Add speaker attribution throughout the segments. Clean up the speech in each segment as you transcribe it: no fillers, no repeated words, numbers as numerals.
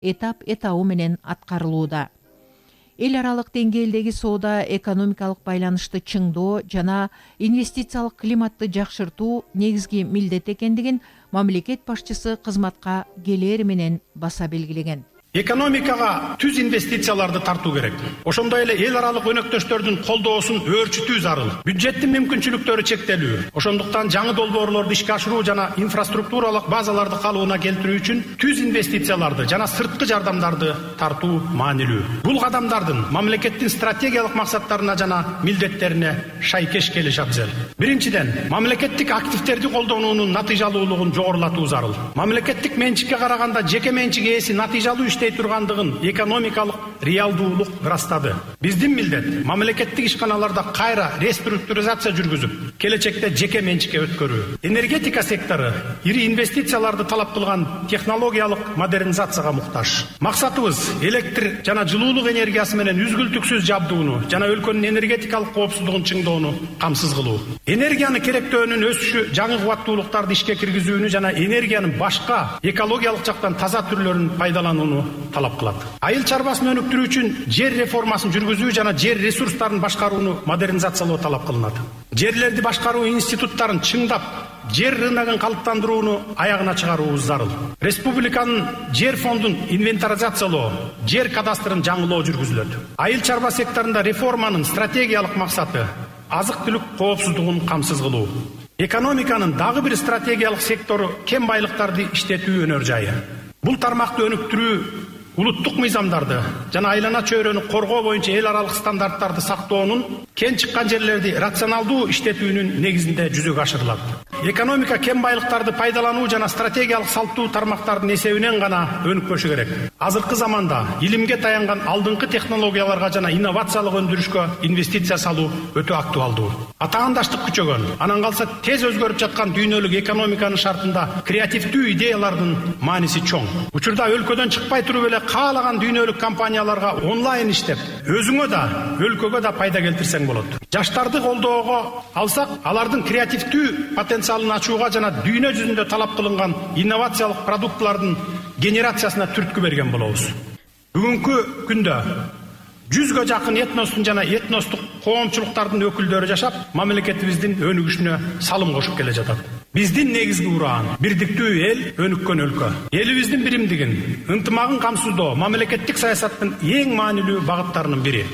Speaker 1: этабы менен аткарылууда. Эл аралык деңгээлдеги соода экономикалык байланышты чыңдоо жана инвестициялык климатты жакшыртуу негизги милдет экендигин мамлекет башчысы кызматка келери менен баса белгилеген.
Speaker 2: Экономикага түз инвестицияларды тартуу керек. Ошондой эле эл аралык өнөктөштөрдүн колдоосун өөрчүтүү зарыл. Бюджеттин мүмкүнчүлүктөрү чектелүү. Ошондуктан жаңы долбоорлорду ишке ашыруу жана инфраструктуралык базаларды калыбына келтирүү үчүн түз инвестицияларды жана сырткы жардамдарды тартуу маанилүү. Бул кадамдардын мамлекеттин стратегиялык максаттарына жана милдеттерине шайкеш келиши абзел. Биринчиден, мамлекеттик активдерди колдонуунун натыйжалуулугун жогорулатуу зарыл. Мамлекеттик менчикке караганда жеке менчик ээси натыйжалуу тургандыгын экономикалык реалдуулук ырастады. Биздин милдет мамлекеттик ишканаларда кайра реструктуризация жүргүзүп, келечекте жеке менчикке өткөрүү. Энергетика сектору ири инвестицияларды талап кылган технологиялык модернизацияга муктаж. Максатыбыз электр жана жылуулук энергиясы менен үзгүлтүксүз жабдууну жана өлкөнүн энергетикалык коопсуздугун чыңдоону камсыз кылуу. Энергияны керектөөнүн өсүшү жаңы кубаттуулуктарды ишке киргизүүнү жана энергиянын башка экологиялык жактан таза түрлөрүн пайдаланууну талап кылат. Айыл чарбасын өнүктүрүү үчүн жер реформасын жүргүзүү жана жер ресурстарын башкарууну модернизациялоо талап кылынат. Жерлерди башкаруу институттарын чыңдап, жер рыногун калыптандырууну аягына чыгаруубуз зарыл. Республиканын жер фондун инвентаризациялоо, жер кадастрын жаңылоо жүргүзүлөт. Айыл чарба секторунда реформанын стратегиялык максаты азык-түлүк коопсуздугун камсыз кылуу. Экономиканын дагы бир стратегиялык сектору кен байлыктарды иштетүү өнөр жайы. Бул тармакты өнүктүрүү улуттук мыйзамдарды жана айлана чөйрөнү коргоо боюнча эл аралык стандарттарды сактоонун, кен чыккан жерлерди рационалдуу иштетүүнүн негизинде жүзөгө ашырылат. Экономика кен байлыктарды пайдалануу жана стратегиялык салттуу тармактардын эсебинен гана өнүкпөшү керек. Азыркы заманда илимге таянган алдыңкы технологияларга жана инновациялык өндүрүшкө инвестиция салуу өтө актуалдуу. Атаандаштык күчөгөн, анан калса тез өзгөрүп жаткан дүйнөлүк экономиканын шартында креативдүү идеялардын мааниси чоң. Учурда өлкөдөн чыкпай туруп эле каалаган дүйнөлүк компанияларга онлайн иштеп, өзүңө да, өлкөгө да пайда келтирсең болот. Жаштарды колдоого алсак, алардын креативдүү потенциалын ачууга жана дүйнө жүзүндө талап кылынган инновациялык продуктлардын генерациясына түрткү берген болобуз. Бүгүнкү күндө 100гө жакын этностун жана этностук коомчулуктардын өкүлдөрү жашап, мамлекетибиздин өнүгүшүнө салым кошуп келе жатат. Биздин негизги ураан бирдиктүү эл, өнүккөн өлкө. Элибиздин биримдигин, ынтымагын камсыздоо мамлекеттик саясаттын эң маанилүү багыттарынын бири.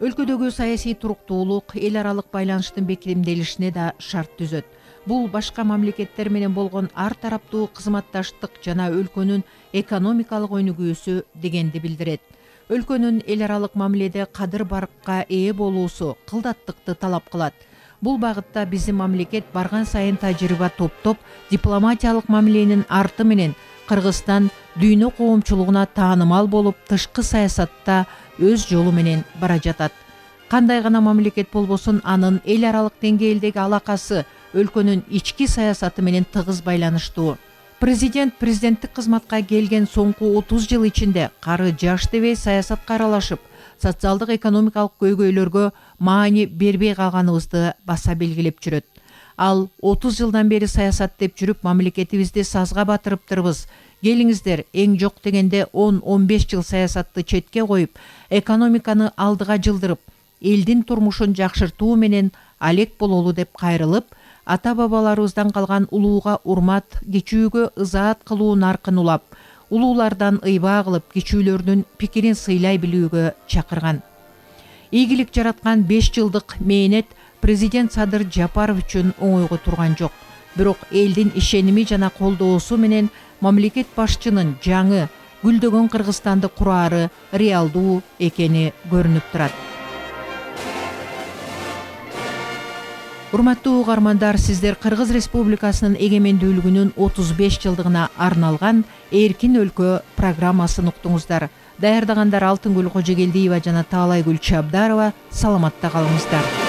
Speaker 1: Өлкөдөгү саясий туруктуулук эл аралык байланыштын бекемделишине да шарт түзөт. Бул башка мамлекеттер менен болгон ар тараптуу кызматташтык жана өлкөнүн экономикалык өнүгүүсү дегенди билдирет. Өлкөнүн эл аралык мамиледе кадыр баркка ээ болуусу кылдаттыкты талап кылат. Бул багытта биздин мамлекет барган сайын тажрыйба топтоп, дипломатиялык мамиленин арты менен Кыргызстан дүйнө коомчулугуна таанымал болуп, тышкы саясатта өз жолу менен бара жатат. Кандай гана мамлекет болбосун, анын эл аралык деңгээлдеги алакасы өлкөнүн ички саясаты менен тыгыз байланыштуу. Президенттик кызматка келген соңку 30 жыл ичинде кары жаш дебей саясатка аралашып, социалдык экономикалык көйгөйлөргө маани бербей калганыбызды баса белгилеп жүрөт. Ал 30 жылдан бери саясат деп жүрүп, мамлекетибизди сазга батырыптырбыз. Келиңиздер, эң жок дегенде 10-15 жыл саясатты четке коюп, экономиканы алдыга жылдырып, элдин турмушун жакшыртуу менен алек бололу деп кайрылып, ата-бабаларыбыздан калган улууга урмат, кичүүгө ызаат кылуу наркын улап, улуулардан ыйбаа кылып, кичүүлөрдүн пикирин сыйлай билүүгө чакырган. Ийгилик жараткан 5 жылдык мээнет президент Садыр Жапаров үчүн оңойго турган жок. Бирок элдин ишеними жана колдоосу менен мамлекет башчынын жаңы гүлдөгөн Кыргызстанды курары реалдуу экени көрүнүп турат. Урматтуу угармандар, сиздер Кыргыз Республикасынын эгемендүүлүгүнүн 35 жылдыгына арналган Эркин өлкө программасын уктуңуздар. Даярдагандар Алтынгүл Кожогелдиева жана Таалайгүл Чабдарова. Саламатта калыңыздар.